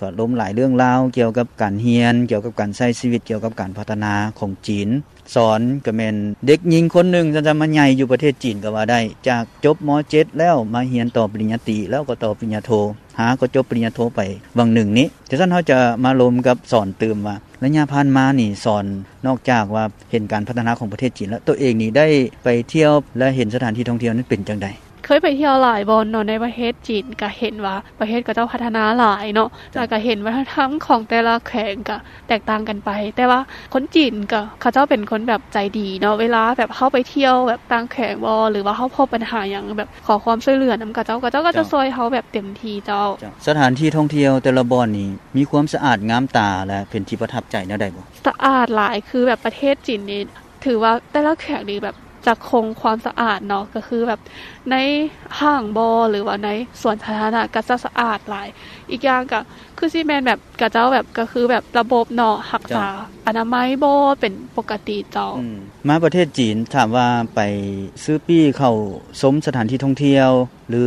ກໍລົມຫຼາຍເລື່ອງລາວກ່ຽວກັບການຮຽນ, ກ່ຽວກັບການໃຊ້ຊີວິດ, ກ່ຽວກັບການພັດທະນາຂອງຈີນ. ສອນກໍແມ່ນເດັກຍິງຄົນໜຶ່ງ ຊັ້ນໆ ມາໃຫຍ່ຢູ່ປະເທດຈີນກໍວ່າໄດ້, ຈາກຈົບ ມ.ເຈັດ ແລ້ວມາຮຽນຕໍ່ປະລິນຍາຕີ ແລ້ວກໍຕໍ່ປະລິນຍາໂທ, ຫາກໍຈົບປະລິນຍາໂທໄປຫວ່າງໜຶ່ງນີ້. ຈັ່ງຊັ້ນເຮົາຈະມາລົມກັບສອນຕື່ມວ່າ ໄລຍະຜ່ານມານີ້ ສອນນອກຈາກວ່າເຫັນການພັດທະນາຂອງປະເທດຈີນແລ້ວ, ໂຕເອງນີ້ໄດ້ໄປທ່ຽວ ແລະ ເຫັນສະຖານທີ່ທ່ອງທ່ຽວນັ້ນເປັນຈັ່ງໃດ? ເຄີຍໄປທ່ຽວຫຼາຍບ່ອນເນາະ ໃນປະເທດຈີນ ກະເຫັນວ່າປະເທດເຂົາເຈົ້າພັດທະນາຫຼາຍເນາະ, ເຈົ້າ ແລ້ວກະເຫັນວັດທະນະທຳຂອງແຕ່ລະແຂວງກະແຕກຕ່າງກັນໄປ. ແຕ່ວ່າຄົນຈີນກະ ເຂົາເຈົ້າເປັນຄົນແບບໃຈດີເນາະ, ເວລາແບບເຮົາໄປທ່ຽວແບບຕ່າງແຂວງບໍ ຫຼືວ່າເຮົາພົບບັນຫາຫຍັງ ແບບຂໍຄວາມຊ່ວຍເຫຼືອນຳເຂົາເຈົ້າ, ເຂົາເຈົ້າກໍຈະ ເຈົ້າ ຊ່ວຍເຮົາແບບເຕັມທີ່ເຈົ້າ. ເຈົ້າ ສະຖານທີ່ທ່ອງທ່ຽວແຕ່ລະບ່ອນນີ້ ມີຄວາມສະອາດງາມຕາ ແລະ ເປັນທີ່ປະທັບໃຈແນວໃດບໍ່? ສະອາດຫຼາຍ, ຄືແບບປະເທດຈີນນີ້ ຖືວ່າແຕ່ລະແຂວງນີ້ແບບຈະຄົງຄວາມສະອາດເນາະ, ກໍຄືແບບໃນຫ້າງບໍ ຫຼືວ່າໃນສວນສາທາລະນະກໍຈະສະອາດຫຼາຍ. ອີກຢ່າງກໍຄືຊິແມ່ນແບບເຂົາເຈົ້າແບບ ກໍຄືແບບລະບົບເນາະ ຮັກສາ ເຈົ້າ ອະນາໄມບໍ ເປັນປົກກະຕິເຈົ້າ. ອືມ ມາປະເທດຈີນ ຖາມວ່າໄປຊື້ປີ້ເຂົ້າຊົມສະຖານທີ່ທ່ອງທ່ຽວ ຫຼື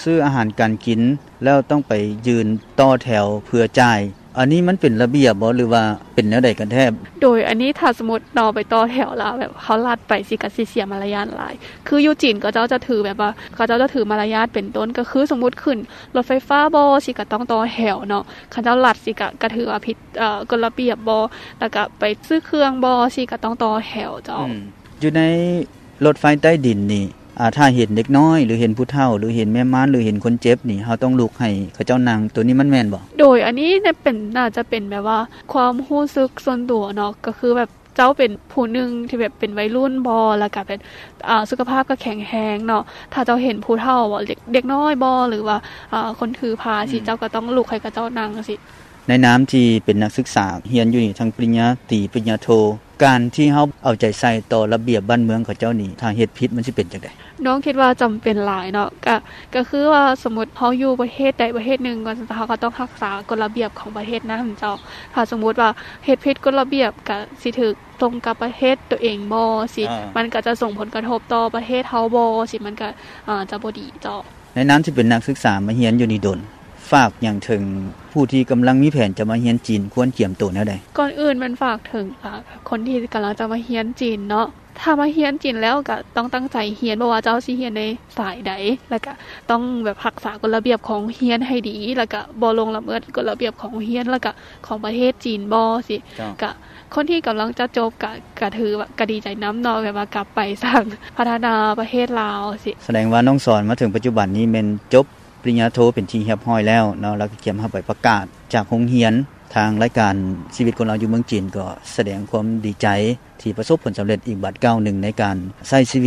ຊື້ອາຫານການກິນ ແລ້ວຕ້ອງໄປຢືນຕໍ່ແຖວເພື່ອຈ່າຍ ອັນນີ້ມັນເປັນລະບຽບບໍ ຫຼືວ່າເປັນແນວໃດກັນແທ້? ໂດຍ ອັນນີ້ຖ້າສົມມຸດເນາະ ໄປຕໍ່ແຖວລະແບບເຮົາລັດໄປຊິ ກະຊິເສຍມາລະຍາດຫຼາຍ. ຄືຢູ່ຈີນເຂົາເຈົ້າຈະຖືແບບວ່າ ເຂົາເຈົ້າຈະຖືມາລະຍາດ ເປັນຕົ້ນກໍຄື ສົມມຸດຂຶ້ນລົດໄຟຟ້າບໍ ຊິກະຕ້ອງຕໍ່ແຖວເນາະ, ຄັນເຈົ້າລັດຊິກະ ກະຖືວ່າຜິດ ເອ່ອ ກົດລະບຽບບໍ ລະກະໄປຊື້ເຄື່ອງບໍ ຊິກະຕ້ອງຕໍ່ແຖວເຈົ້າ. ອືມ ຢູ່ໃນລົດໄຟໃຕ້ດິນນີ້ ອາ ຖ້າເຫັນເດັກນ້ອຍ ຫຼື ເຫັນຜູ້ເຖົ້າ ຫຼື ເຫັນແມ່ມ່ານ ຫຼື ເຫັນຄົນເຈັບນີ້ ເຮົາຕ້ອງລຸກໃຫ້ເຂົາເຈົ້ານັ່ງ, ໂຕນີ້ມັນແມ່ນບໍ່? ໂດຍ ອັນນີ້ແມ່ນເປັນ ໜ້າຈະເປັນແບບວ່າຄວາມຮູ້ສຶກສ່ວນຕົວເນາະ, ກໍຄືແບບເຈົ້າເປັນຜູ້ໜຶ່ງທີ່ແບບເປັນໄວລຸ້ນບໍ ລະກະເປັນ ອາ ສຸຂະພາບກໍແຂງແຮງເນາະ, ຖ້າເຈົ້າເຫັນຜູ້ເຖົ້າບໍ ເດັກ ເດັກນ້ອຍບໍ ຫຼືວ່າ ອາ ຄົນຖືພາ ອືມ ຊິ ເຈົ້າກໍຕ້ອງລຸກໃຫ້ເຂົາເຈົ້ານັ່ງຊີ້. ໃນນາມທີ່ເປັນນັກສຶກສາຮຽນຢູ່ນີ້ ທັງປະລິນຍາຕີ ປະລິນຍາໂທ, ການທີ່ເຮົາເອົາໃຈໃສ່ຕໍ່ລະບຽບບ້ານເມືອງເຂົາເຈົ້ານີ້ ຖ້າເຮັດຜິດມັນຊິເປັນຈັ່ງໃດ? ນ້ອງຄິດວ່າຈຳເປັນຫຼາຍເນາະ, ກະ ກະຄືວ່າສົມມຸດເຮົາຢູ່ປະເທດໃດປະເທດໜຶ່ງ ເຮົາກໍຕ້ອງຮັກສາກົດລະບຽບຂອງປະເທດນັ້ນເຈົ້າ. ຖ້າສົມມຸດວ່າເຮັດຜິດກົດລະບຽບ ກະຊິຖືກສົ່ງກັບປະເທດໂຕເອງບໍ ຊິ ອາ ມັນກະຈະສົ່ງຜົນກະທົບຕໍ່ປະເທດເຮົາບໍ ຊິ ມັນກະ ອາ ຈະບໍ່ດີເຈົ້າ. ໃນນາມທີ່ເປັນນັກສຶກສາມາຮຽນຢູ່ນີ້ດົນ, ຝາກຫຍັງເຖິງຜູ້ທີ່ກຳລັງມີແຜນຈະມາຮຽນຈີນ ຄວນກຽມໂຕແນວໃດ? ກ່ອນອື່ນແມ່ນຝາກເຖິງ ອາ ຄົນທີ່ກຳລັງຈະມາຮຽນຈີນເນາະ, ຖ້າມາຮຽນຈີນແລ້ວກະຕ້ອງຕັ້ງໃຈຮຽນ, ບໍ່ວ່າເຈົ້າຊິຮຽນໃນສາຍໃດ, ລະກະຕ້ອງແບບຮັກສາກົດລະບຽບຂອງໂຮງຮຽນໃຫ້ດີ, ລະກະບໍ່ລ່ວງລະເມີດກົດລະບຽບຂອງໂຮງຮຽນ ລະກະຂອງປະເທດຈີນບໍ ຊິ ເຈົ້າ. ກະ ຄົນທີ່ກຳລັງຈະຈົບກະ ກະຖືວ່າກະດີໃຈນຳເນາະ, ແບບວ່າກັບໄປສ້າງພັດທະນາປະເທດລາວຊີ້. ສະແດງວ່ານ້ອງສອນມາເຖິງປັດຈຸບັນນີ້ແມ່ນຈົບປະລິນຍາໂທເປັນທີ່ຮຽບຮ້ອຍແລ້ວເນາະ, ແລ້ວກໍກຽມເຮົາໄປປະກາດຈາກໂຮງຮຽນ. ທາງລາຍການຊີວິດຄົນລາວຢູ່ເມືອງຈີນກໍສະແດງຄວາມດີໃຈທີ່ປະສົບຜົນສຳເລັດອີກບາດກ້າວໜຶ່ງໃນການໃຊ້ຊີວິດ